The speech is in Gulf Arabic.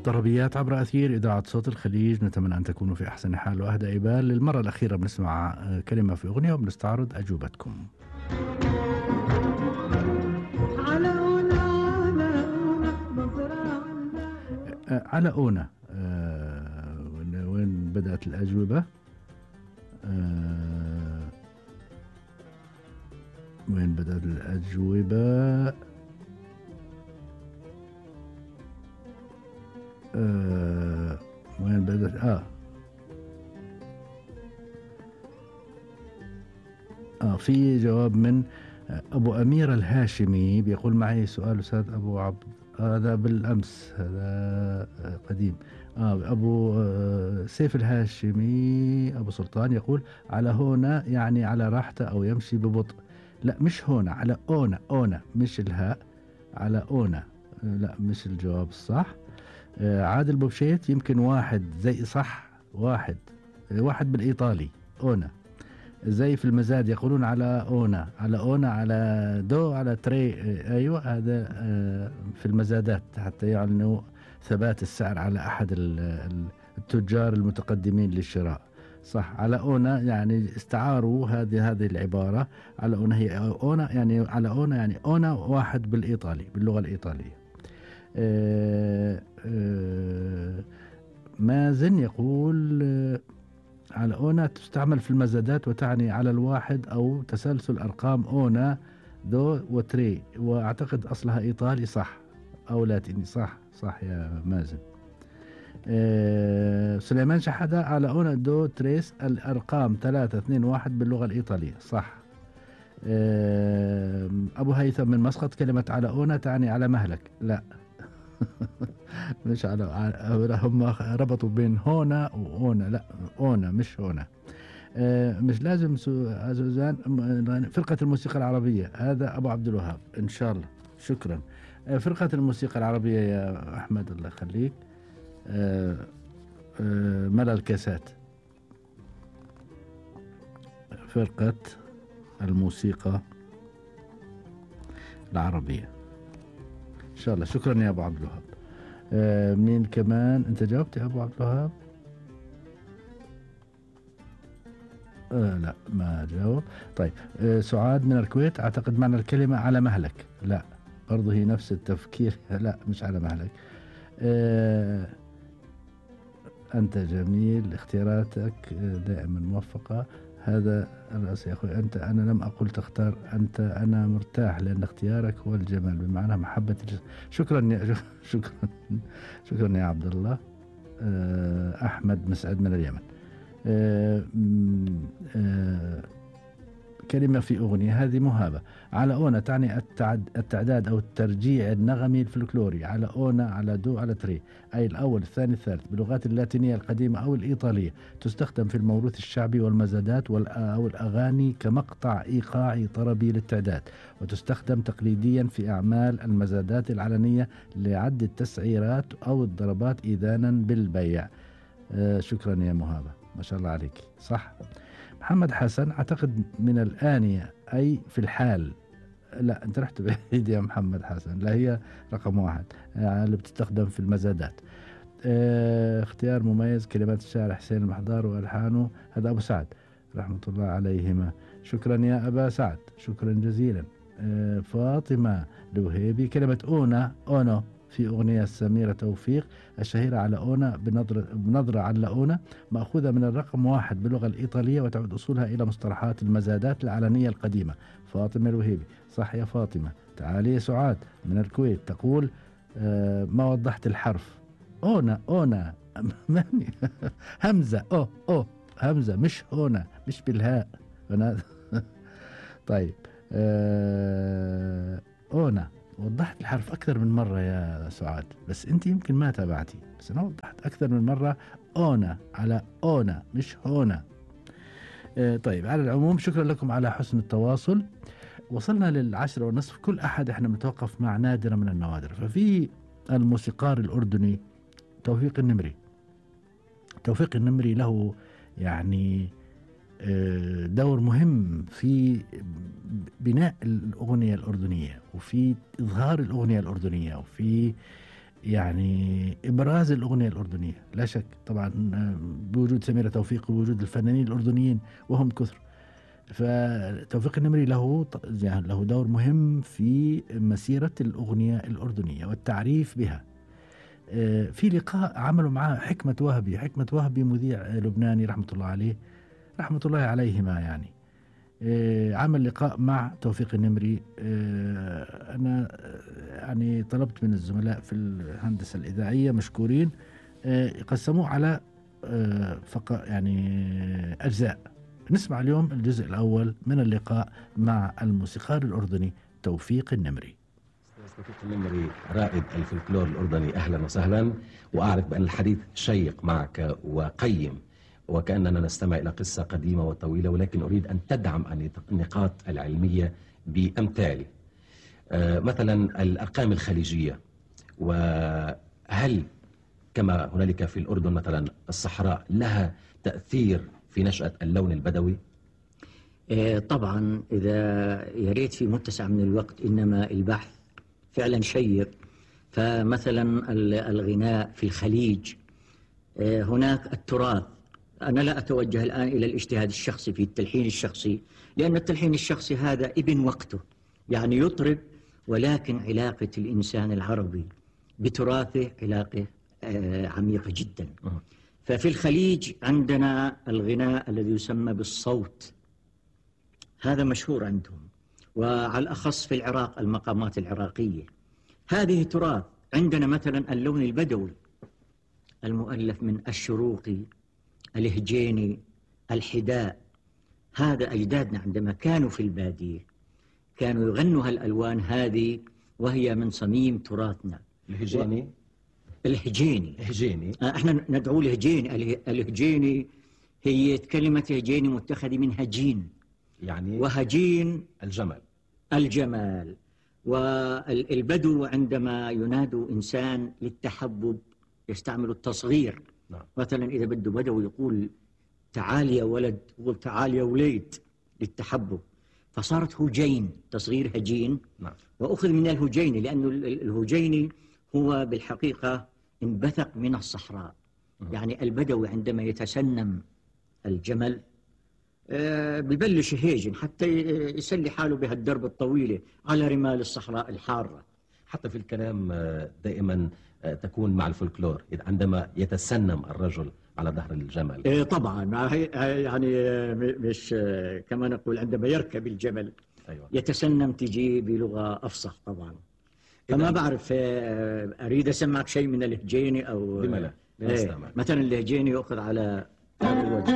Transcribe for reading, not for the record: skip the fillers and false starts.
طربيات عبر أثير إذاعة صوت الخليج. نتمنى أن تكونوا في أحسن حال وأهدى بال. للمرة الأخيرة بنسمع كلمة في أغنية وبنستعرض أجوبتكم. على أونا. وين بدأت الأجوبة؟ وين بدأت الأجوبة؟ وين بدأت؟ في جواب من أبو أمير الهاشمي بيقول معي سؤال أستاذ أبو عبد. هذا بالأمس، هذا قديم. أبو سيف الهاشمي أبو سلطان يقول على هنا يعني على راحته أو يمشي ببطء. لا مش هنا، على أونا مش الهاء، على أونا. لا مش الجواب الصح. عادل بوبشيت يمكن واحد زي صح، واحد بالإيطالي أونا. زي في المزاد يقولون على أونا، على أونا، على دو، على تري. أيوة هذا في المزادات حتى يعلنوا ثبات السعر على أحد التجار المتقدمين للشراء. صح، على أونا يعني استعاروا هذه العبارة. على أونا هي أونا يعني على أونا يعني أونا واحد بالإيطالي، باللغة الإيطالية. مازن يقول على أونا تستعمل في المزادات وتعني على الواحد أو تسلسل أرقام أونا دو وتري، وأعتقد أصلها إيطالي. صح أو لاتيني. صح يا مازن. سليمان شحدة على أونا دو تريس الأرقام 3 2 1 باللغة الإيطالية. صح. أبو هيثم من مسقط كلمة على أونا تعني على مهلك. لا مش على، هم ربطوا بين هونا وأونا. لا أونا مش هونا. مش لازم سوزان. فرقة الموسيقى العربية، هذا أبو عبد الوهاب إن شاء الله. شكرا. فرقة الموسيقى العربية يا أحمد الله يخليك. ملا الكاسات، فرقة الموسيقى العربية إن شاء الله. شكرا يا أبو عبد الوهاب. مين كمان؟ أنت جاوبت يا أبو عبد الوهاب؟ لا ما جاوب. طيب سعاد من الكويت أعتقد معنى الكلمة على مهلك. لا برضه هي نفس التفكير. لا مش على مهلك. أنت جميل، اختياراتك دائما موفقة. هذا الرأس يا أخوي. أنا لم أقل تختار أنت، أنا مرتاح لأن اختيارك هو الجمال بمعنى محبة شكرا شكرا يا عبد الله. أحمد مسعد من اليمن. كلمة في أغنية، هذه مهابة. على أونا تعني التعداد أو الترجيع النغمي الفلكلوري. على أونا، على دو، على تري، أي الأول الثاني الثالث باللغات اللاتينية القديمة أو الإيطالية. تستخدم في الموروث الشعبي والمزادات أو الأغاني كمقطع إيقاعي طربي للتعداد، وتستخدم تقليديا في أعمال المزادات العلنية لعد التسعيرات أو الضربات إذانا بالبيع. شكرا يا مهابة، ما شاء الله عليك. صح. محمد حسن أعتقد من الآنية أي في الحال. لا أنت رحت بعيد يا محمد حسن. لا هي رقم 1 اللي بتستخدم في المزادات. اختيار مميز. كلمات الشاعر حسين المحضار وألحانه. هذا أبو سعد رحمة الله عليهما. شكرا يا أبا سعد، شكرا جزيلا. فاطمة الوهيبي كلمة أونو في أغنية سميرة توفيق الشهيرة على أونا بنظرة على أونا، مأخوذة من الرقم 1 باللغة الإيطالية، وتعود أصولها إلى مصطلحات المزادات العلنية القديمة. فاطمة الوهيبي. صح يا فاطمة. تعالي يا سعاد من الكويت تقول ما وضحت الحرف أونا همزة همزة مش هنا، مش بالهاء. طيب أونا وضحت الحرف أكثر من مرة يا سعاد، بس أنت يمكن ما تابعتي، بس أنا وضحت أكثر من مرة. أونا على أونا مش هنا. طيب على العموم شكرا لكم على حسن التواصل. وصلنا 10:30. كل أحد احنا بنتوقف مع نادرة من النوادر. ففي الموسيقار الأردني توفيق النمري. توفيق النمري له يعني دور مهم في بناء الأغنية الأردنية، وفي إظهار الأغنية الأردنية، وفي يعني إبراز الأغنية الأردنية لا شك طبعا، بوجود سميرة توفيق ووجود الفنانين الأردنيين وهم كثر. فتوفيق النمري يعني له دور مهم في مسيرة الأغنية الأردنية والتعريف بها. في لقاء عملوا معاه حكمة وهبي مذيع لبناني رحمة الله عليه، رحمة الله عليهما يعني. عمل لقاء مع توفيق النمري. أنا يعني طلبت من الزملاء في الهندسة الإذاعية مشكورين قسموه على يعني أجزاء. نسمع اليوم الجزء الأول من اللقاء مع الموسيقار الأردني توفيق النمري. توفيق النمري رائد الفلكلور الأردني، أهلا وسهلا. وأعرف بأن الحديث شيق معك وقيم وكأننا نستمع إلى قصة قديمة وطويلة، ولكن أريد أن تدعم النقاط العلمية بأمثال مثلا الأرقام الخليجية، وهل كما هنالك في الأردن مثلا الصحراء لها تأثير في نشأة اللون البدوي؟ طبعا، إذا يريد في متسع من الوقت، إنما البحث فعلا شيق. فمثلا الغناء في الخليج، هناك التراث. أنا لا أتوجه الآن إلى الاجتهاد الشخصي في التلحين الشخصي، لأن التلحين الشخصي هذا ابن وقته، يعني يطرب، ولكن علاقة الإنسان العربي بتراثه علاقة عميقة جدا. ففي الخليج عندنا الغناء الذي يسمى بالصوت، هذا مشهور عندهم، وعلى الأخص في العراق المقامات العراقية هذه تراث. عندنا مثلا اللون البدوي المؤلف من الشروقي، الهجيني، الحداء. هذا أجدادنا عندما كانوا في البادية كانوا يغنوا هالألوان هذه، وهي من صميم تراثنا. الهجيني احنا ندعوه الهجيني. الهجيني هي كلمة هجيني متخذة من هجين، يعني وهجين الجمال. والبدو عندما ينادوا إنسان للتحبب يستعمل التصغير. نعم. مثلا إذا بده بدو يقول تعال يا ولد، يقول تعال يا وليد للتحبب، فصارت هجين، تصغير هجين. نعم. وأخذ من الهجيني لأنه الهجيني هو بالحقيقة انبثق من الصحراء. يعني البدوي عندما يتسنم الجمل ببلش هيجن حتى يسلي حاله بهالدرب الطويلة على رمال الصحراء الحارة. حتى في الكلام دائما تكون مع الفولكلور عندما يتسنم الرجل على ظهر الجمل. طبعا، يعني مش كما نقول عندما يركب الجمل. أيوة. يتسنم تجي بلغة أفصح طبعا. فما بعرف، أريد أسمعك شيء من الهجيني أو بملا. مثلا الهجيني يأخذ على الوجه.